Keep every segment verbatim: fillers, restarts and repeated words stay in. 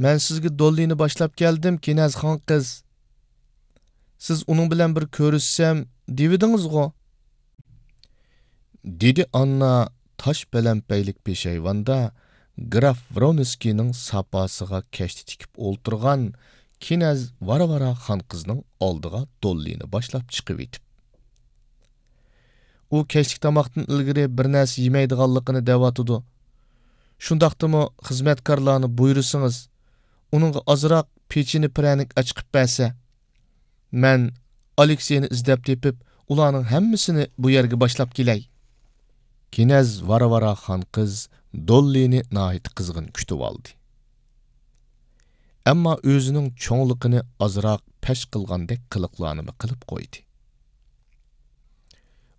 مەن سىزگە دوللىنى باشلاپ كەلدىم، كىنەز خان قىز. سىز ئۇنىڭ بىلەن بىر كۆرۈشسەم دېۋىدىڭىزغۇ؟ دېدى ئاننا تاش پەلەمپەيلىك پېشايۋاندا گراف ۋرونسكىينىڭ ساپاسىغا كەشتە تىكىپ ئولتۇرغان كىنەز ۋارۋارا خان قىزنىڭ ئالدىغا دوللىنى باشلاپ چىقىۋېتىپ. ئۇ كەچلىك تاماقتىن ئىلگىرى بىر نەرسە يېمەيدىغانلىقىنى دەۋاتىدۇ. شۇنداقتىمۇ خىزمەتكارلارنى بۇيرۇسىڭىز، ئۇنىڭغا ئازراق پېچىنە پىرەنىك ئەچىقىپ بەرسە. مەن ئالېكسېينى ئىزدەپ تېپىپ، ئۇلارنىڭ ھەممىسىنى بۇ يەرگە باشلاپ كېلەي. كىنەز ۋارۋارا خان قىز دوللىنى ناھايىتى قىزغىن كۈتۈۋالدى. ئەمما ئۆزىنىڭ چوڭلۇقىنى ئازراق پەش قىلغاندەك قىلىقلارنىمۇ قىلىپ قويدى.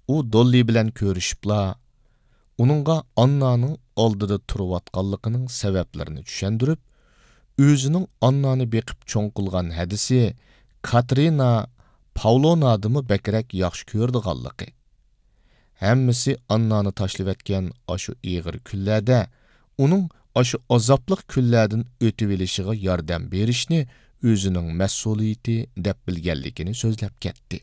ئۇ دوللى بىلەن كۆرۈشۈپلا، ئۇنىڭغا ئاننانىڭ ئالدىدا تۇرۇۋاتقانلىقىنىڭ سەۋەبلىرىنى چۈشەندۈرۈپ، ئۆزىنىڭ ئاننانى بېقىپ چوڭ قىلغان ھەدىسى كاترىنا پاۋلونادىمۇ بەكرەك ياخشى كۆرىدىغانلىقى، ھەممىسى ئاننانى تاشلىۋەتكەن ئاشۇ ئېغىر كۈنلەردە ئۇنىڭ ئاشۇ ئازابلىق كۈنلەردىن ئۆتۈۋېلىشىغا ياردەم بېرىشنى ئۆزىنىڭ مەسئۇلىيىتى دەپ بىلگەنلىكىنى سۆزلەپ كەتتى.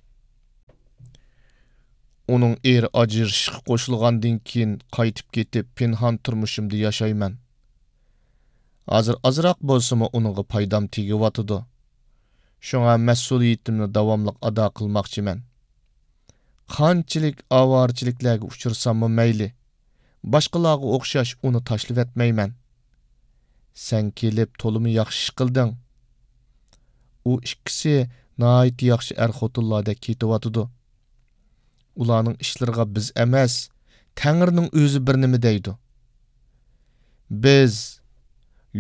ئۇنىڭ ئېرى ئاجرىشىشقا قوشۇلغاندىن كېيىن قايتىپ كېتىپ، پىنھان تۇرمۇشۇمدا ياشايمەن. ھازىر ئازراق بولسىمۇ ئۇنىڭغا پايدام تېگىۋاتىدۇ. شۇڭا مەسئۇلىيىتىمنى داۋاملىق ئادا قىلماقچىمەن. قانچىلىك ئاۋارىچىلىكلەرگە ئۇچرىساممۇ مەيلى، باشقىلارغا ئوخشاش ئۇنى تاشلىۋەتمەيمەن. سەن كېلىپ تولىمۇ ياخشى ئىش قىلدىڭ. ئۇ ئىككىسى ناھايىتى ياخشى ئەر-خوتۇنلاردەك كېتىۋاتىدۇ. ئۇلارنىڭ ئىشلىرىغا بىز ئەمەس، تەڭرىنىڭ ئۆزى بىر نېمە دەيدۇ. بىز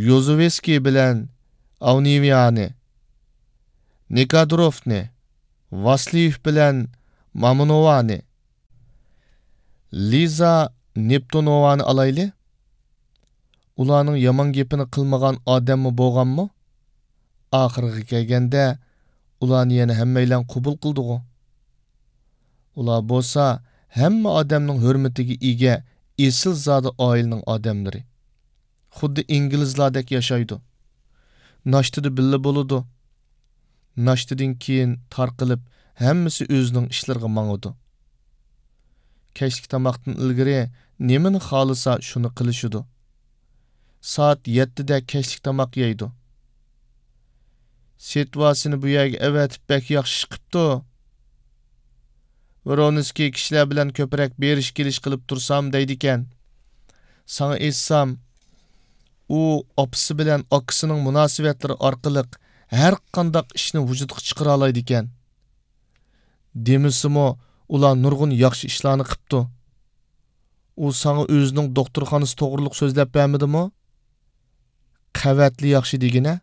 يوزۇۋسكىي بىلەن ئاۋنېۋيانى، نىكادوروفنى، ۋاسليېف بىلەن مامونوۋانى، لىزا نېپتۇنوۋانى ئالايلى. ئۇلارنىڭ يامان گېپىنى قىلمىغان ئادەممۇ بولغانمۇ؟ ئاخىرىغا كەلگەندە، ئۇلارنى يەنە ھەممەيلەن قوبۇل قىلدىغۇ. ئۇلار بولسا ھەممە ئادەمنىڭ ھۆرمىتىگە ئىگە ئېسىلزادە ئائىلىنىڭ ئادەملىرى. خۇددى ئىنگلىزلاردەك ياشايدۇ. ناشتىدا بىللە بولىدۇ. ناشتىدىن كېيىن تارقىلىپ، ھەممىسى ئۆزىنىڭ ئىشلىرىغا ماڭىدۇ. كەچلىك تاماقتىن ئىلگىرى نېمىنى خالىسا، شۇنى قىلىشىدۇ. سائەت يەتتىدە كەچلىك تاماق يەيدۇ. سېتۋاسىنى بۇ يەرگە ئەۋەتىپ بەك ياخشى ئىش قىپتۇ. ۋرونسكىي كىشىلەر بىلەن كۆپرەك بېرىش كېلىش قىلىپ تۇرسام دەيدىكەن. ساڭا ئېيتسام، ئۇ ئاپىسى بىلەن ئاكىسىنىڭ مۇناسىۋەتلىرى ئارقىلىق ھەر قانداق ئىشنى ۋۇجۇدقا چىقىرالايدىكەن. دېمىسىمۇ، ئۇلار نۇرغۇن ياخشى ئىشلارنى قىپتۇ. ئۇ ساڭا ئۆزىنىڭ دوختۇرخانىسى توغرۇلۇق سۆزلەپ بەرمىدىمۇ؟ قەۋەتلا ياخشى دېگىنە.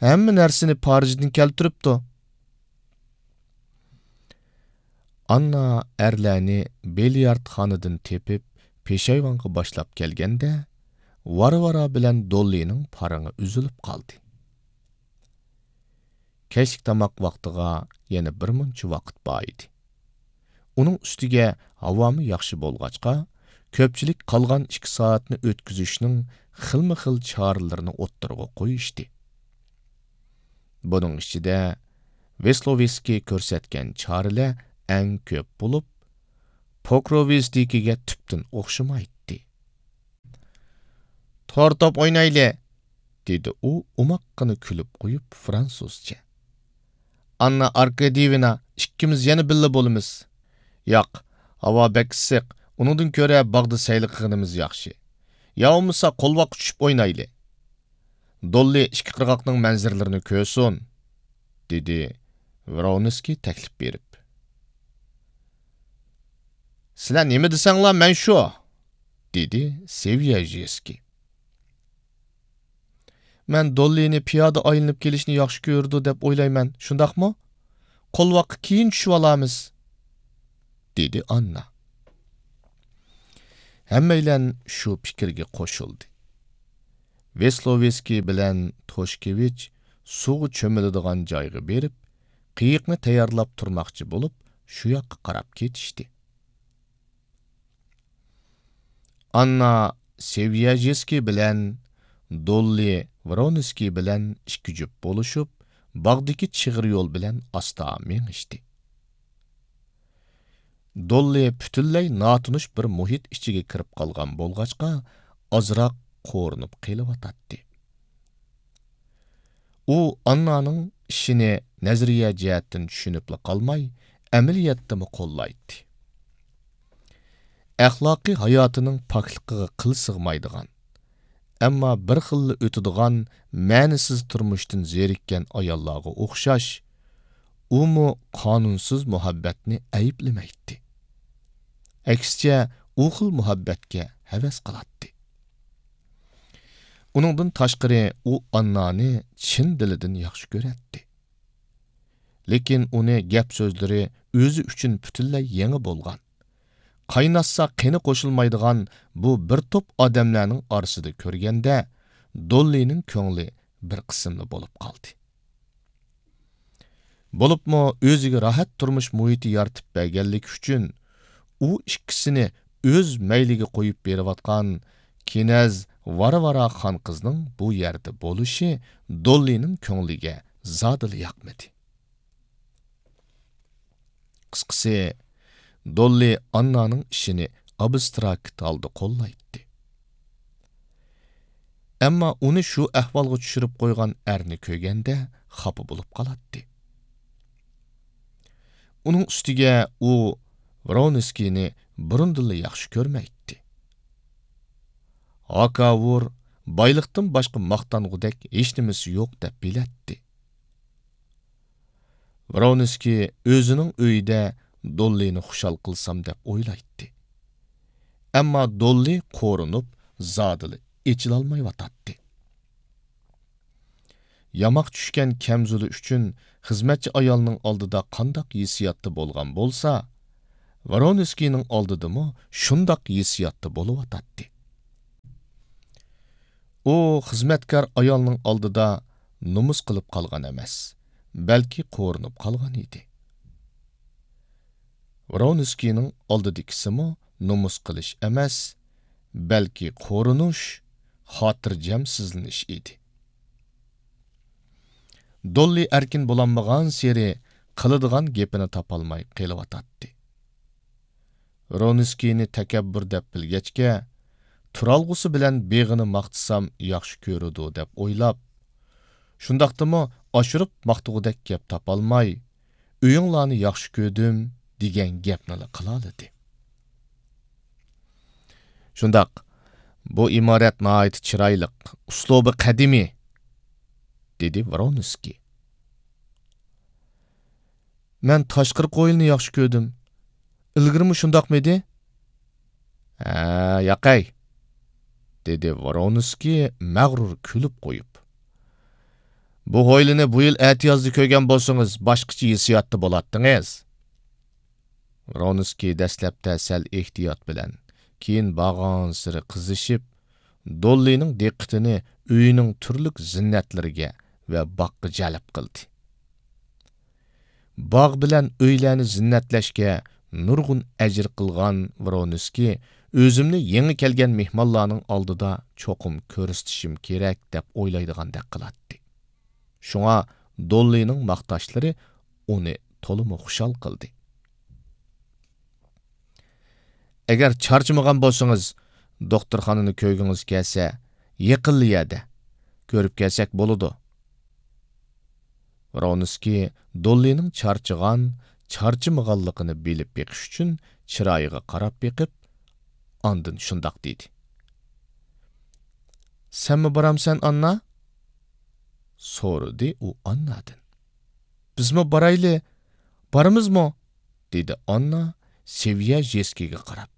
ھەممە نەرسىنى پارىژدىن كەلتۈرۈپتۇ. ئاننا ئەرلەرنى بىليارتخانىدىن تېپىپ، پېشايۋانغا باشلاپ كەلگەندە، ۋارۋارا بىلەن دوللىنىڭ پارىڭى ئۈزۈلۈپ قالدى. كەچلىك تاماق ۋاقتىغا يەنە بىر مۇنچە ۋاقىت بار ئىدى. ئۇنىڭ ئۈستىگە ھاۋامۇ ياخشى بولغاچقا، كۆپچىلىك قالغان ئىككى سائەتنى ئۆتكۈزۈشنىڭ خىلمۇ خىل چارىلىرىنى ئوتتۇرىغا قويۇشتى. بۇنىڭ ئىچىدە ۋېسلوۋېسكىي كۆرسەتكەن چارىلەر ئەڭ كۆپ بولۇپ، پوكروۋىستىكىگە تۈپتىن ئوخشىمايتتى. تور توپ ئوينايلى، دېدى ئۇ ئوماققىنا كۈلۈپ قويۇپ فرانسۇزچە. ئاننا ئاركاديېۋنا، ئىككىمىز يەنە بىللە بولىمىز. ياق، ھاۋا بەك ئىسسىق، ئۇنىڭدىن كۆرە باغدا سەيلە قىلغىنىمىز ياخشى. يا بولمىسا قولۋاققا چۈشۈپ ئوينايلى. دوللى ئىككى قىرغاقنىڭ مەنزىرىلىرىنى كۆرسۇن، دېدى ۋرونسكىي تەكلىپ بېرىپ. سىلەر نېمە دېسەڭلار، مەن شۇ، دېدى سېۋياژېسكىي. مەن دوللىنى پىيادە ئايلىنىپ كېلىشنى ياخشى كۆرىدۇ دەپ ئويلايمەن، شۇنداقمۇ؟ قولۋاققا كېيىن چۈشۈۋالارمىز، دېدى ئاننا. ھەممەيلەن شۇ پىكىرگە قوشۇلدى. ۋېسلوۋېسكىي بىلەن توشكېۋىچ سۇغا چۆمۈلىدىغان جايغا بېرىپ، قېيىقنى تەييارلاپ تۇرماقچى بولۇپ، شۇ ياققا قاراپ كېتىشتى. ئاننا سېۋياژېسكىي بىلەن دوللى ۋرونسكىي بىلەن ئىككى جۈپ بولۇشۇپ، باغدىكى چىغىر يول بىلەن ئاستا مېڭىشتى. دوللى پۈتۈنلەي ناتونۇش بىر مۇھىت ئىچىگە كىرىپ قالغان بولغاچقا، ئازراق قورۇنۇپ قېلىۋاتاتتى. ئۇ ئاننانىڭ ئىشىنى نەزەرىيە جەھەتتىن چۈشىنىپلا قالماي، ئەمەلىيەتتىمۇ قوللايتتى. ئەخلاقىي ھاياتىنىڭ پاكلىقىغا قىل سىغمايدىغان، ئەمما بىر خىللا ئۆتىدىغان مەنىسىز تۇرمۇشتىن زېرىككەن ئاياللارغا ئوخشاش، ئۇمۇ قانۇنسىز مۇھەببەتنى ئەيىبلىمەيتتى. ئەكسىچە، ئۇ خىل مۇھەببەتكە ھەۋەس قىلاتتى. ئۇنىڭدىن تاشقىرى، ئۇ ئاننانى چىن دىلىدىن ياخشى كۆرەتتى. لېكىن ئۇنى گەپ-سۆزلىرى ئۆزى ئۈچۈن پۈتۈنلەي يېڭى بولغان، قايناتسا قېنى قوشۇلمايدىغان بۇ بىر توپ ئادەملەرنىڭ ئارىسىدا كۆرگەندە، دوللىنىڭ كۆڭلى بىر قىسىملا بولۇپ قالدى. بولۇپمۇ ئۆزىگە راھەت تۇرمۇش مۇھىتى يارىتىپ بەرگەنلىكى ئۈچۈن، ئۇ ئىككىسىنى ئۆز مەيلىگە قويۇپ بېرىۋاتقان كىنەز ۋارۋارا خانقىزنىڭ بۇ يەردە بولۇشى دوللىنىڭ كۆڭلىگە زادىلا ياقمىدى. قىسقىسى، دوللى ئاننانىڭ ئىشىنى ئابستراكت ھالدا قوللايتتى. ئەمما ئۇنى شۇ ئەھۋالغا چۈشۈرۈپ قويغان ئەرنى كۆرگەندە خاپا بولۇپ قالاتتى. ئۇنىڭ ئۈستىگە ئۇ ۋرونسكىينى بۇرۇندىنلا ياخشى كۆرمەيتتى. ھاكاۋۇر بايلىقتىن باشقا ماختانغۇدەك ھېچنېمىسى يوق دەپ بىلەتتى. ۋرونسكىي ئۆزىنىڭ ئۆيىدە دوللىنى خۇشال قىلسام دەپ ئويلايتتى. ئەمما دوللى قورۇنۇپ، زادىلا ئېچىلالمايۋاتاتتى. ياماق چۈشكەن كەمزۇلى ئۈچۈن خىزمەتچى ئايالنىڭ ئالدىدا قانداق ھېسسىياتتا بولغان بولسا، ۋرونسكىينىڭ ئالدىدىمۇ شۇنداق ھېسسىياتتا بولۇۋاتاتتى. ئۇ خىزمەتكار ئايالنىڭ ئالدىدا نومۇس قىلىپ قالغان ئەمەس، بەلكى قورۇنۇپ قالغان ئىدى. ۋرونسكىينىڭ ئالدىدىكىسىمۇ نومۇس قىلىش ئەمەس، بەلكى قورۇنۇش، خاتىرجەمسىزلىنىش ئىدى. دوللى ئەركىن بولالمىغانسېرى قىلىدىغان گېپىنى تاپالماي قېلىۋاتاتتى. ۋرونسكىينى تەكەببۇر دەپ بىلگەچكە، تۇرالغۇسى بىلەن بېغىنى ماختىسام ياخشى كۆرىدۇ دەپ ئويلاپ، شۇنداقتىمۇ ئاشۇرۇپ ماختىغۇدەك گەپ تاپالماي، «ئۆيۈڭلارنى ياخشى كۆردۈم» دېگەن گەپنىلا قىلالىدى. «شۇنداق، بۇ ئىمارەت ناھايىتى چىرايلىق، ئۇسلۇبى قەدىمىي»، دېدى ۋرونسكىي. «مەن تاشقىرىقى ھويلىنى ياخشى كۆردۈم. ئىلگىرىمۇ شۇنداقمىدى؟» «ھە، ياقەي»، دېدى ۋرونسكىي مەغرۇر كۈلۈپ قويۇپ. «بۇ ھويلىنى بۇ يىل ئەتىيازدا كۆرگەن بولسىڭىز، باشقىچە ھېسسىياتتا بولاتتىڭىز.» ۋرونسكىي دەسلەپتە سەل ئېھتىيات بىلەن، كېيىن بارغانسېرى قىزىشىپ، دوللىنىڭ دىققىتىنى ئۆيىنىڭ تۈرلۈك زىننەتلىرىگە ۋە باغقا جەلپ قىلدى. باغ بىلەن ئۆيلەرنى زىننەتلەشكە نۇرغۇن ئەجىر قىلغان ۋرونسكىي، «ئۆزۈمنى يېڭى كەلگەن مېھمانلارنىڭ ئالدىدا چوقۇم كۆرسىتىشىم كېرەك» دەپ ئويلايدىغاندەك قىلاتتى. شۇڭا دوللىنىڭ ماختاشلىرى ئۇنى تولىمۇ خۇشال قىلدى. «ئەگەر چارچىمىغان بولسىڭىز، دوختۇرخانىنى كۆرگۈڭىز كەلسە، يېقىنلا يەردە، كۆرۈپ كەلسەك بولىدۇ.» ۋرونسكىي دوللىنىڭ چارچىغان، چارچىمىغانلىقىنى بىلىپ بېقىش ئۈچۈن چىرايىغا قاراپ بېقىپ، ئاندىن شۇنداق دېدى. «سەنمۇ بارامسەن، ئاننا؟» سورىدى ئۇ ئاننادىن. «بىزمۇ بارايلى، بارىمىزمۇ؟» دېدى ئاننا سېۋيەژېسكىيگە قاراپ.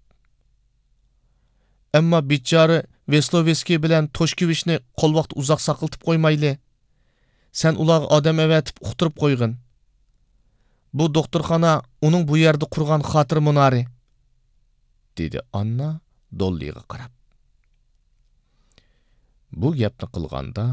«ئەمما بىچارە ۋېسلوۋېسكىي بىلەن توشكېۋىچنى قول ۋاقىت ئۇزاق ساقلىتىپ قويمايلى. سەن ئۇلارغا ئادەم ئەۋەتىپ ئۇقتۇرۇپ قويغىن. بۇ دوختۇرخانا ئۇنىڭ بۇ يەردە قۇرغان خاتىرە مۇنارى»، دېدى ئاننا دوللىغا قاراپ. بۇ گەپنى قىلغاندا،